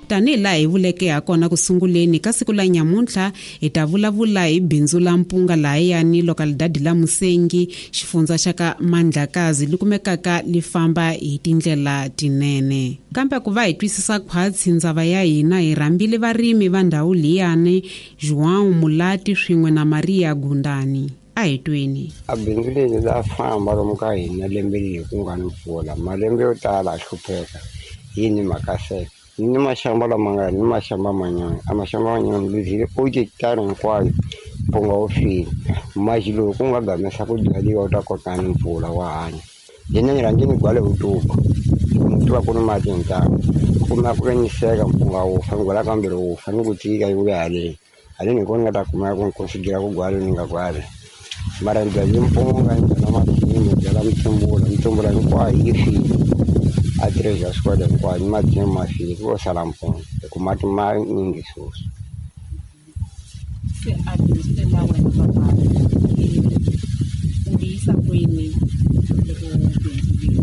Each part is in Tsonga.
Tanihi laha hi vuleke hakona ku sunguleni ka siku la nyamuntlha, hi ta vulavula hi bindzu la mpunga lahayani lokalidadi la Musengi, xifundza xa ka Mandlakazi li kumekaka li famba hi tindlela tinene. Kambe ku va hi twisisa khwatsi ndzava ya hina, hi rhambile varimi va ndhawu liyani, João Mulati swin'we na Maria Gundani. A hi tweni. A bindzu leri la famba lomu ka hina lembe leri ku nga ni mpfula, malembe yo tala a hlupheka yini mhaka seke. Ni maxamba lama nga ni maxamba manyana, a maxamba manyana ni luzile ocho hekitara hinkwayo mpunga wu file. Maxi lowu ku nga gamesa ku byariwa wu ta kota ni mpfula wa hanya. Hina ni rhange ni gwale vutuku, ni tiva ku ni mati hintamu. Kuma ku ve ni seka mpunga wu fa, ni gwala kambirhi wu fa, ni ku tika yi vuya haleni. Haleni hi kona ni nga ta kuma ku ni considera ku gwala ni nga gwali. Mara ni byale mpunga, ni byala masimu, ni byala mitsumbula, mitsumbula hinkwayo yi file. A treasure squad hinkwayo ni masimu ma file, ku lo sala mpunga hi ku mati ma nyingi sweswi. Se a bindzu leri la wena papa u li yisa kwini loko bindzu leri?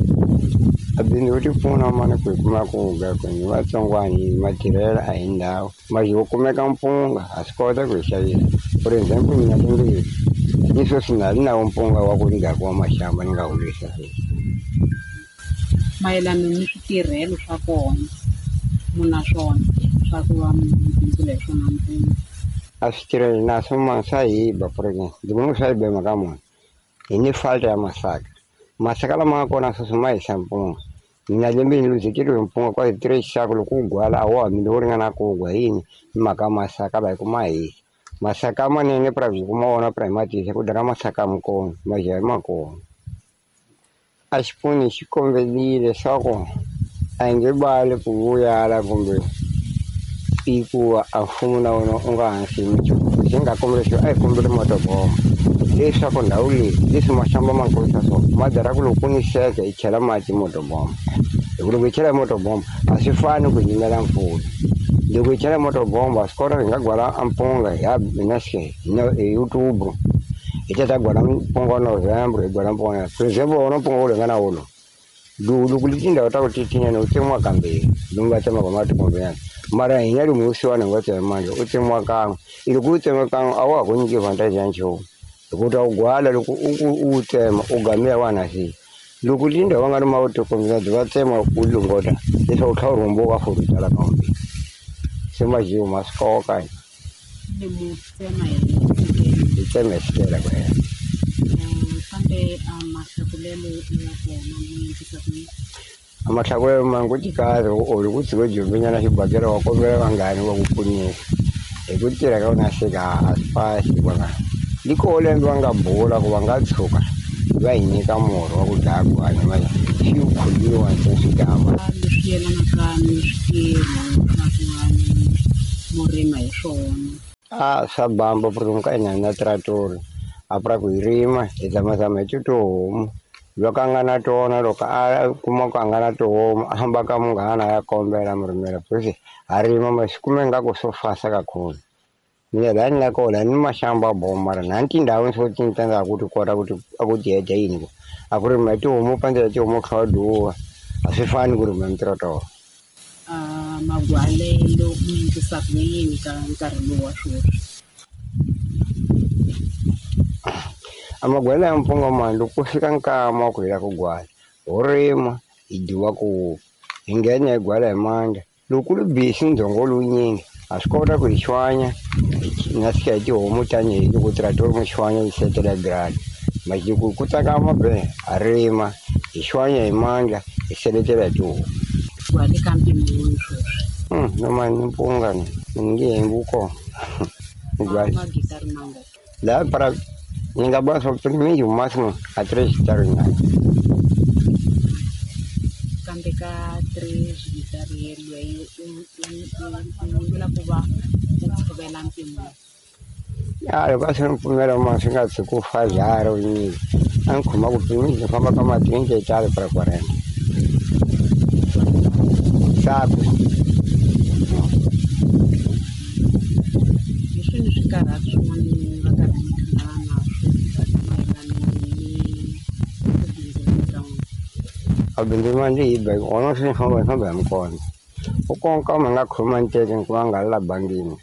A bindzu wu ti pfuna mani ku hi kuma ku ga ku hi vatsongwana hi matirhela a hi ndhawu. Manje wo kumeka mpunga ha swi kota ku hi xavisa. For example mina lembe leri ni sweswi na ha ri na wo mpunga wa ku ndzhaku wa maxamba ni nga humesa sweswi. Mayelana ni switirhelo swa kona mu na swona swa ku va mi bindzula hi swona mpunga? A switirhelo na swo mani swa hi ba for example ndzi vona swa hi ba hi mhaka muni hi ni fault ya masaka. Masaka lama nga kona sweswi ma hisa mpunga. Mina lembe ni luzekeriwe hi mpunga kwa three xaku loko wu gwala a wa ha mili wo ringana ku gwa yini hi mhaka masaka la hi ku ma hisa. Masaka manene pra ku kuma wona pra hi ma tisa ku daka masaka mikona majaha ma kona. A xipfuni xi kombelile leswaku a hi nge bali ku vuyala kumbe i ku a mfumo na wona u nga hansi hi minchumu. Lexi nga kombela xo a hi kombeli motobombo leswaku ndhawu leyi leswi maxamba ma kurisa so ma dara ku loko ku ni seke hi chela mati motobombo. Hi ku loko hi chela motobombo a swi fani ku yimela mpfula. Loko hi chela motobombo a swi kota hi nga gwala a mpunga hi hi na se hi October hi ta ta gwala mpunga November hi gwala mpunga. For example wona mpunga wu ringana wolowo. Loko li tindhawu ta ku titinyana wu tsemiwa kambirhi lomu va tsemaka mati mara hina lomu vusiwana hi nga tsema mandla u tsemiwa kan'we. Loko u tsema kan'we a wa ha ku nyiki advantage ya nchumu hi ku ta wu gwala loko u wu tsema u gamela wa na se. Loko tindhawu va nga ri mavito va tsema u longota leswaku u tlhela u rhumbuka for u byala kambe. Se majiwo ma swi koka. Ni mu tsema hi xikele. Hi tsema hi xikele ku hela. Kambe a mahlakulelo ya kona mu endlisa ku yini? A mahlakulelo ma ngo tikahle or ku tshika jombenyana xibakela wa kombela vanghani va ku pfunisa. Hi ku tirha ka wena seka a swi fasi vona. Li koho lembe va nga bula ku va nga tshuka va hi nyika murhi wa ku dlaya gwana manje swi khomiwa ntsena swi gama. Leswi yelanaka ni switirho swa ku va mu rima hi swona. A swa bamba ku ri ka hina na tratori a pra ku hi rima hi zamazama hi tihomu. Loko a nga na tona loko a kuma ku a nga na tihomu a famba ka munghana a ya kombela murimela because ha rima ma swi kume ingaku swo fasa kakhulu. Mina laha ni nga kona ni maxamba bomo mara na tindhawu swo tintangha ku ti kota ku ti a ku ti heta yini ku a ku rima hi tihomu pandzela tihomu kha wa duwa a swi fani ku rima mitirotoro. A magwalelo mu endlisa ku yini ka nkarhi lowu wa sweswi? A magwalelo ya mpunga mani loko ku fika nkama wa ku hela ku gwala ho rima hi dyiwa ku hi nghena hi gwala hi mandla. Loko ku ri busy ndzhongo lowunyingi ha swi kota ku hi xwanya na fika hi tihomu tanihi loko trator mo xwanya yi setela grani. Mara loko ku tsakama be ha rima hi xwanya hi mandla hi seletela hi tihomu. Gwale ka mpimo wihi sweswi? No mani ni mpunga ni nge hembi wu kona. Magitari mangaki? Laha para ni nga vula swa ku mingi maximum a three hekitari nyana. Kambe ka three hekitari yeleyo u vula ku va u tshovela mpimo. Ya loko a swi ni pfumela ma swi nga tshuki ku fa jara nyingi a ni khoma ku mingi ni famba ka ma twenty hekitari para quarenta. Sako. Hi swini swikarhati swin'wana mi nga karhi mi hlangana na swona mayelana ni ku bindzula ka n'wina? A bindzu ma ndzi hi ba wona swi ni famba hi famba hi mikona. U konka ma nga khoma nteke ku va nga la bangini.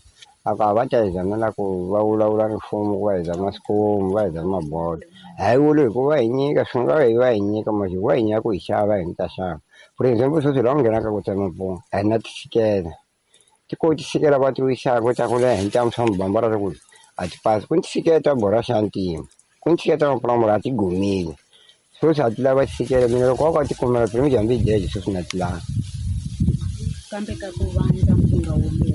A ka va ta hi zamela ku va vulavula ni mfumo ku va hi zama swikomu va hi zama bodo. A hi vuli hi ku va hi nyika swi nga hi va hi nyika masi va hi nyika ku hi xava hi ta xava. For example sweswi laha u nghenaka ku tsema mpunga a hi na tisikela. Ti ko tisikela va ti wisaka ta ku leha hi ntamu swa mubambara ku a ti pasi. Ku ni tisikela ta borha xa ntima. Ku ni tisikela ta mapulamula a ti gomile. Sweswi a ti lava tisikela mina loko wa ka ti kumela phela mi hambi deje sweswi na ti lava. Kambe ka ku vandla mpunga wolowo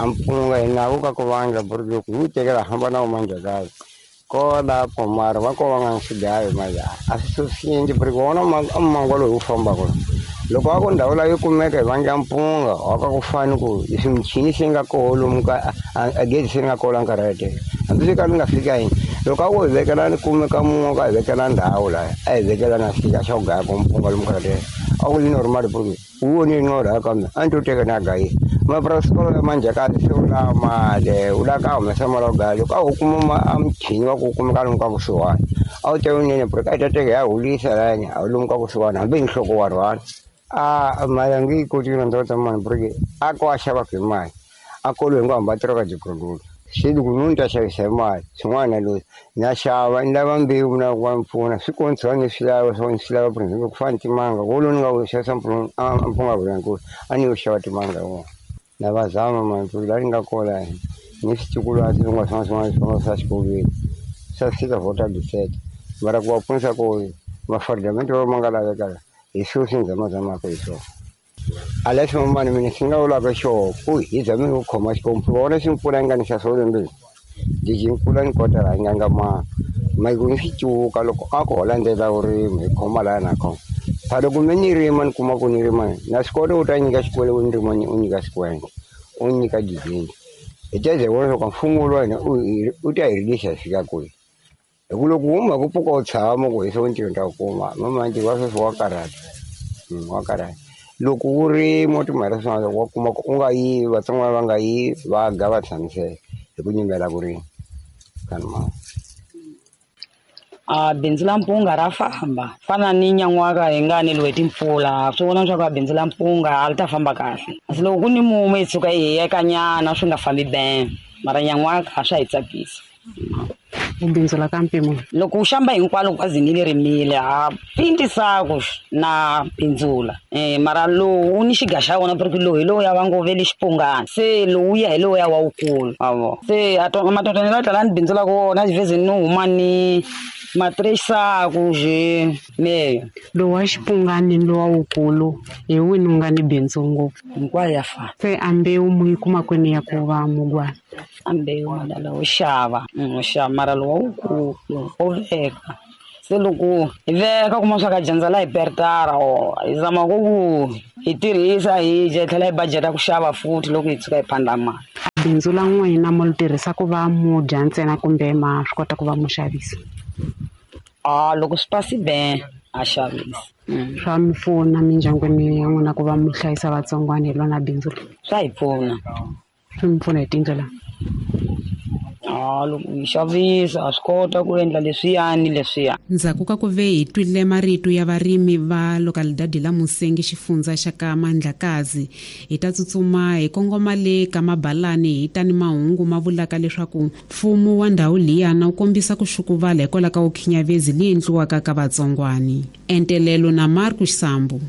a mpunga hi nawu ka ku vandla buri loko hi wu tekela hamba na wu Mandlakazi ko lapho mara va ko va nga swigayo mara a swi susiendli buri wona a mangwa lowu wu fambaka loko a ku ndhawu laha yi kumeka hi vandla mpunga wa ka ku fani ku leswi michini se nga koho lomu ka a gezi se nga koho la nkarhi yeleyo hambi swi ka li nga fika yini loko a ku hi vekela ni kumeka mun'we ka hi vekela ndhawu laha a hi vekela na xika xa ku gaya ko mpunga lomu nkarhi yeleyo a ku li normal buri wu voni norha kambe a ni to teka na gayisa mapurasi ya Mandlakazi se u lava mali u lava ka humesa mali ya ku gaya loko a ho kuma a muchini wa ku kumeka lomu ka kusuhani a wu ta wunene buri ka hi ta teka hi ya hulisa lahayani a lomu ka kusuhani hambi hi nhloko wa rhwala a mali a nge yi koti ku rhandza mani buri a ko a xavaka hi mali a kolo hi ngo hamba a tirhaka jikululu se loko ni ta xavisa hi mali swin'wana na loyi na xava ni lava mbewu na ku va ni pfuna swi kontshiwa ni swi lava swo ni swi lava for example ku fana ni timanga wolowo ni nga wu xavisa mpunga vulankulu a ni yo xava timanga hi wona na va zama mani ku laha ni nga kola ni switukulwana swin'wana swin'wana swin'wana swin'wana swa xikolweni swa fika vhota bisete mara ku va pfunisa ku mafardamento ma nga laveka hi swona swi ni zamazamaka hi swona. A leswi mani mina swi nga vulaka xona ku hi zame ku khoma xikombu vona swi mpfula yi nga ni xa swo lembeni lexi mpfula ni kota laha yi nga nga ma mike ni swi cuka loko a ku ho landzela vurimi hi khoma laha na khoma pha loko me ni rima ni kuma ku ni rima na swi kota u ta nyika xikwele u ni rima u nyika xikwele u nyika dizini hi ta ze vona loko mfumo wa hina u ta hi rilisa hi fika kwihi hi ku loko huma ku pfuka u tshama ku hi swo ntirho ta ku kuma mamanti wa sweswi wa karhata wa karhata loko wu rima u timhaka swin'wana wa kuma ku u nga yivi vatsongwana va nga yivi va ga va tshamiseka hi ku nyimela ku rima kanima. A bindzu la mpunga ra famba fana ni nyan'waka hi nga neliwe timpfula swi vona leswaku a bindzu la mpunga a li ta famba kahle kasi loko ku ni mumu hi tshuka hi hiyekanyana swi nga fambi ben mara nyan'waka a swa hi tsakisa. Bindzu la ka mpimo loko u xamba hinkwalo kwazini leri rimile ha pintisaku na bindzula mara lowu wu ni xiga xa wona porque lowu hi lowu ya va ngo vele xipungana se lowu ya hi lowu ya wa wukulu avo se matotoni la tlala ni bindzula ku wona xivhezini ni huma ni matresaku je meyo lowu wa xipungani ni lowa wukulu hi wini wu nga ni bindzu ngopfu hinkwayo ya fana se a mbewu mu yi kuma kwini ya ku va mugwana a mbewu madala wo xava wo xava mara lowa wukulu wo veka se loko hi veka kuma swa ka dyandza la hi pertara o hi zama ku ku hi tirhisa hi dya hi tlhela hi budget-a ku xava futhi loko hi tshuka hi phanda mali. Bindzu la n'wina mo li tirhisa ku va mu dya ntsena kumbe ma swi kota ku va mu xavisa? A loko swi pasi ben a xavisa. Swa mi pfuna mindyangwini ya n'wina ku va mu hlayisa vatsongwana hi lona bindzu leri? Swa hi pfuna. Swi mi pfuna hi tindlela? A loko hi xavisa a swi kota ku endla leswiyani leswiya. Ndzhaku ka ku ve hi twile marito ya varimi va localidade la Musengi xifundza xa ka Mandlakazi hi ta tsutsuma hi kongoma le ka Mabalani hi ta ni mahungu ma vulaka leswaku mfumo wa ndhawu liyana wu kombisa ku xukuvala hikwalaho ka vukhinyavezi leyi endliwaka ka vatsongwani. Entelelo na Marcus Sambu.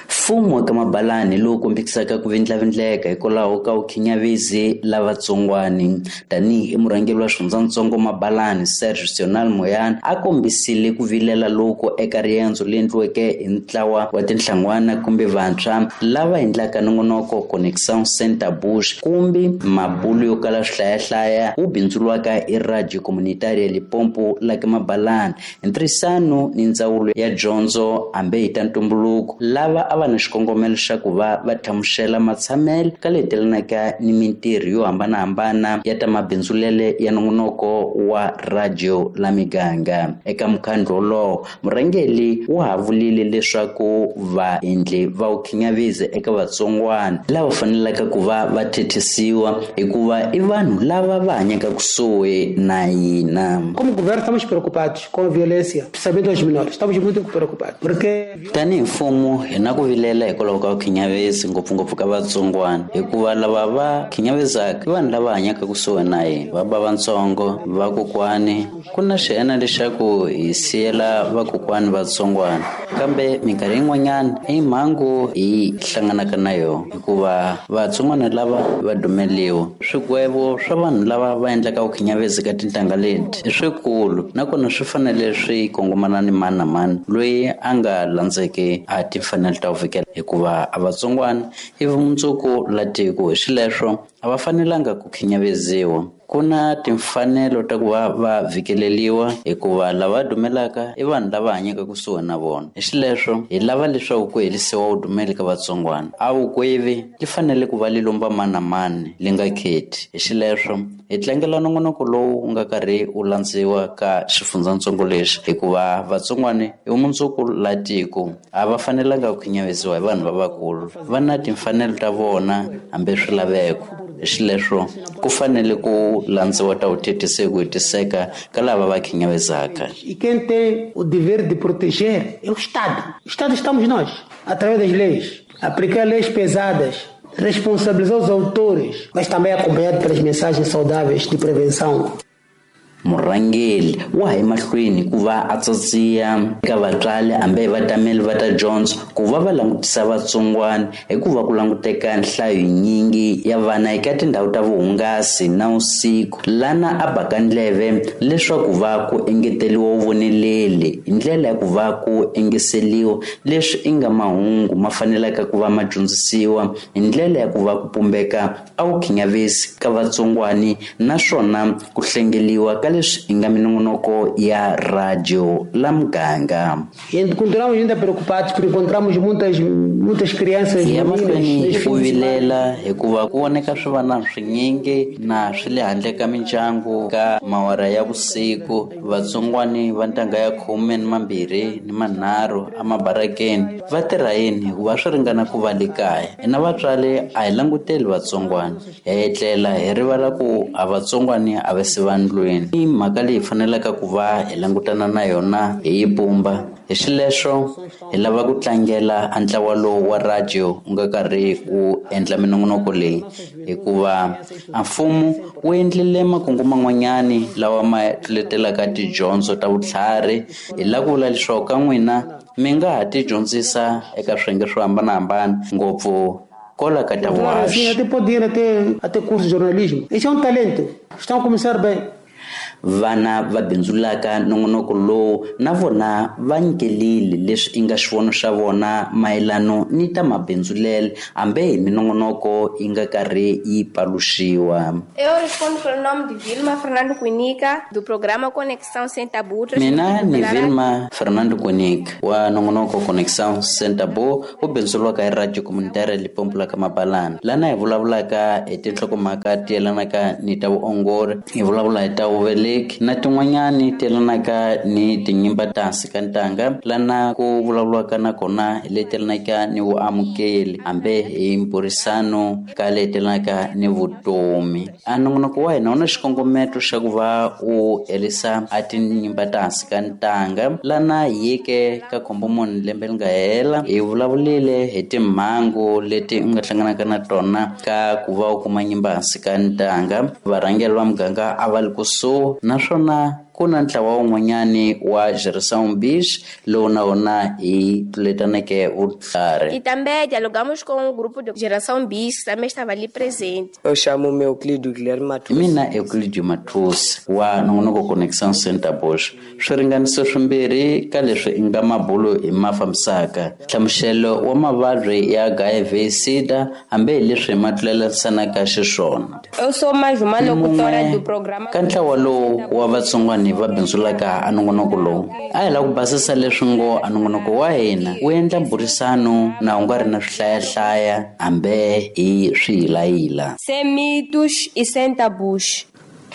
Mfumo wa ka Mabalani lowu kombisaka ku vindlavindleka hikwalaho ka vukhinyavezi la vatsongwani tanihi murhangeri wa xifundzatsongo Mabalani Serge Sional Moyana a kombisile ku vilela loko eka riendzo leri endliweke hi ntlawa wa tinhlan'wana kumbe vantshwa lava endlaka nongonoko Connection Center Bush kumbe mabulu yo kala swihlayahlaya wu bindzuriwaka hi Radio Comunitaria Limpopo la ka Mabalani hi ntirhisano ni ndzawulo ya dyondzo hambi hi ta ntumbuluko lava a va na xikongomelo xa ku va va hlamusela matshamelo ka letelanaka ni mintirho yo hambanahambana ya ta mabindzulele ya nongonoko wa radio la miganga. Eka mukhandlu wolowo murhangeri wa ha vulile leswaku vaendli va vukhinyavezi eka vatsongwana lava fanelaka ku va va thethisiwa hikuva i vanhu lava va hanyaka kusuhi na hina. Como governo estamos preocupados com a violência, principalmente aos menores. Estamos muito preocupados porque tanihi mfumo hi na ku vilela vilela hikwalaho ka vukhinyavezi ngopfungopfu ka vatsongwana, hikuva lava va khinyavizaka i vanhu lava hanyaka kusuhi na hina, va ba vatsongo, vakokwani. Ku na xiena lexaku hi siyela vakokwani vatsongwana, kambe minkarhi yin'wanyana i mhangu hi hlanganaka na yona, hikuva vatsongwana lava va dumeliwa. Swigwevo swa vanhu lava va endlaka vukhinyavezi ka tintangha leti i swikulu, nakona swi fanele swi kongomana ni mani na mani loyi a nga landzeki a timfanelo ta ku vikela, hikuva a vatsongwana i vumundzuku la tiko, hi xileswo a va fanelanga ku khinyaveziwa. Ku na timfanelo ta ku va va vhikeleliwa, hikuva lava dumelaka i vanhu lava hanyaka kusuhi na vona. Hi xileswo hi lava leswaku ku herisiwa vudumeli ka vatsongwana. A vukwevi li fanele ku va li lomba mani na mani, li nga khethi. Hi xileswo hi tlangela nongonoko lowu wu nga karhi wu landziwa ka xifundzatsongo lexi, hikuva vatsongwana i vumundzuku la tiko, a va fanelanga ku khinyaveziwa hi vanhu lavakulu. Va na timfanelo ta vona hambi swilaveko. Hi xileswo ku fanele ku landziwa ta vuthethisi hi ku hetiseka ka lava va khinyavezaka. E quem tem o dever de proteger é o Estado. O Estado estamos nós, através das leis. Aplicar leis pesadas, responsabilizar os autores, mas também acompanhado pelas mensagens saudáveis de prevenção. Murhangeri wa ha emahlweni ku va a tsatsiya eka vatswari hambi vatameli va ta dyondzo ku va va langutisa vatsongwana, hikuva ku languteka nhlayo yinyingi ya vana eka tindhawu ta vuhungasi na vusiku, lana a baka ndleve leswaku va ku engeteriwa vuvoneleli hi ndlela ya ku va ku engeseliwa leswi i nga mahungu ma fanelaka ku va ma dyondzisiwa hi ndlela ya ku va ku pumbeka a wu khinyavesi ka vatsongwani, naswona ku hlengeliwa ka leswi i nga minongonoko ya radio la muganga. E continuamos ainda preocupados porque encontramos muitas, muitas crianças Hi ya mahlweni hi ku vilela, hikuva ku voneka swivana swinyingi na swi le handle ka mindyangu ka mawara ya vusiku. Vatsongwani va ntangha ya 12 ni 3 emabarakeni va tirha yini, hikuva swi ringana ku va le kaya. Hina vatswari a hi languteli vatsongwana, hi etlela hi rivala ku a vatsongwani a va se va ndlwini. I mhaka leyi hi fanelaka ku va hi langutana na yona hi yi pumba. Hi xileswo hi lava ku tlangela a ntlawa lowu wa radio wu nga karhi wu endla minongonoko leyi, hikuva a mfumo wu endlile makungu man'wanyani lawa ma tluletelaka tidyondzo ta vutlhari. Hi lava ku vula leswaku ka n'wina mi nga ha ti dyondzisa eka swiyenge swo hambanahambana, ngopfu kola ka ta vuhaxi. Até pode ir até curso de jornalismo. Esse é um talento. Estão a começar bem. Vana va bindzulaka nongonoko lowu na vona va nyikelile leswi i nga xivono xa vona mayelano ni ta mabindzulele, hambi hi minongonoko yi nga karhi yi paluxiwa. Eu respondo pelo nome de Vilma Fernando Cuinica, do programa Conexão Sem Tabu. Mina ni Vilma Fernando Cuinica wa nongonoko Conexão Sem Tabu, wu bindzuriwaka hi Radio Comunitária Limpopo la ka Mabalana, lana hi vulavulaka hi tinhlokomhaka ti yelanaka ni ta vuongori, hi vulavula hi ta vuveleki na tin'wanyani ti yelanaka ni tinyimba ta hansi ka ntanga, lana ku vulavuriwaka na kona hi leti yelanaka ni vuamukeli hambi hi mburisano ka leti yelanaka ni vutomi. A nongonoko wa hina wu na xikongometo xa ku va wu herisa a tinyimba ta hansi ka ntanga, lana hi yeke ka Khombomuni lembe leri nga hela hi vulavulile hi timhangu leti u nga hlanganaka na tona ka ku va u kuma nyimba hansi ka ntanga. Varhangeri va muganga a va li kusuhi, naswona ku na ntlawa wun'wanyani wa Geração Bis lowu na wona hi tluletaneke vutlhari. E também dialogamos com o grupo de Geração Bis, que também estava ali presente. Eu chamo-me Euclidio Guilherme Matusi. Mina Euclidio Matusi wa nongonoko Conexão Sem Tabus. Swiringaniso swimbirhi ka leswi i nga mabulo hi ma fambisaka. Nhlamuselo wa mavabyi ya HIV SIDA hambi hi leswi ma tlulelisanaka xiswona. Eu sou mais uma locutora do programa. Ka ntlawa lowu wa vatsongwani va bindzulaka a nongonoko lowu, a hi lava ku basisa leswi ngo a nongonoko wa hina wu endla mburisano na wu nga ri na swihlayahlaya hambi hi swiyilayila. Sem mitos e sem tabus.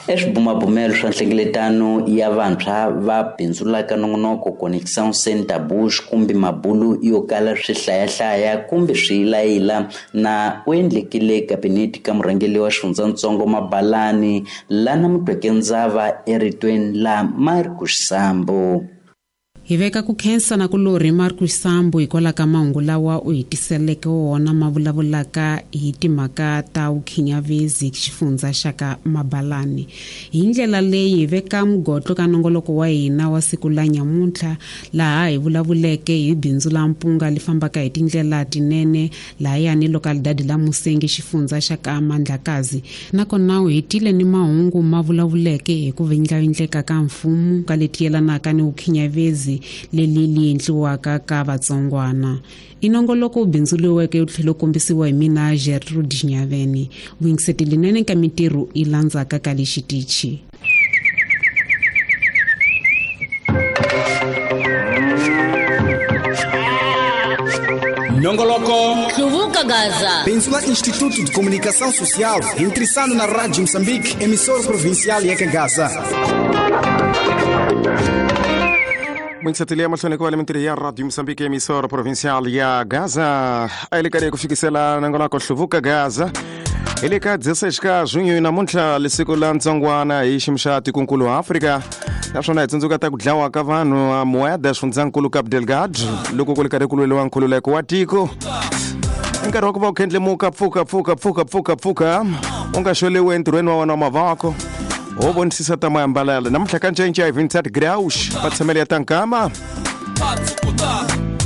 Eswibumabumelo swa nhlengeletano ya vantshwa va bindzulaka nongonoko Conexão Sem Tabus kumbe mabulu yo kala swihlayahlaya kumbe swiyilayila na u endlekile kabinete ka murhangeri wa xifundzatsongo Mabalani lana Mutweke Ndzava eritweni la Marcus Sambo. Hi veka ku khensa na ku lorhi Marcus Sambo hikwalaho ka mahungu lawa u hi tiseleke wona ma vulavulaka hi timhaka ta vukhinyavezi xifundza xa ka Mabalani. Hi ndlela leyi hi veka mugotlo ka nongoloko wa hina wa siku la nyamuntlha laha hi vulavuleke hi bindzu la mpunga li fambaka hi tindlela tinene lahayani localidade la Musengi xifundza xa ka Mandlakazi. Nakona u hetile ni mahungu ma vulavuleke hi ku vindlavindleka ka mfumo ka leti yelanaka ni vukhinyavezi leli li endliwaka ka vatsongwana. I nongoloko wu bindzuriweke wu tlhela wu kombisiwa hi mina Gertrude Xinyaveni. Vuyingiseti linene ka mintirho yi landzaka ka lexitichi. Nongoloko Hluvuka Gaza. Bindzu la Instituto de Comunicação Social, intressando na Rádio Moçambique, emissora provincial ya Gaza. Mwingisateli ya mahlweni ku va le mintirho ya Radio Moçambique, emissora provincial ya Gaza. A yi le karhi ku fikisela nongonoko Hluvuka Gaza. Hi le ka 16 ka junho namuntlha lesiku la ntsongwana hi xiyimo xa tikonkulu Afrika. Naswona hi tsundzuka ta ku dlawa ka vanhu a Moeda xifundzankulu Cabo Delgado loko ku ri karhi ku lweriwa nkhululeko wa tiko. I nkarhi wa ku va u khendlemuka pfuka pfuka pfuka pfuka pfuka u nga xoliwi entirhweni wa wena wa mavoko ho vonisisa ta maambalelo namuntlha ka ncence hi 27 graus matshamelo ya ta nkama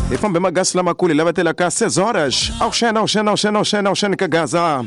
hi fambe magasi lamakulu hi lavatela ka 6 horas awuxena awuxena awuxena awuxena awuxeni ka Gaza.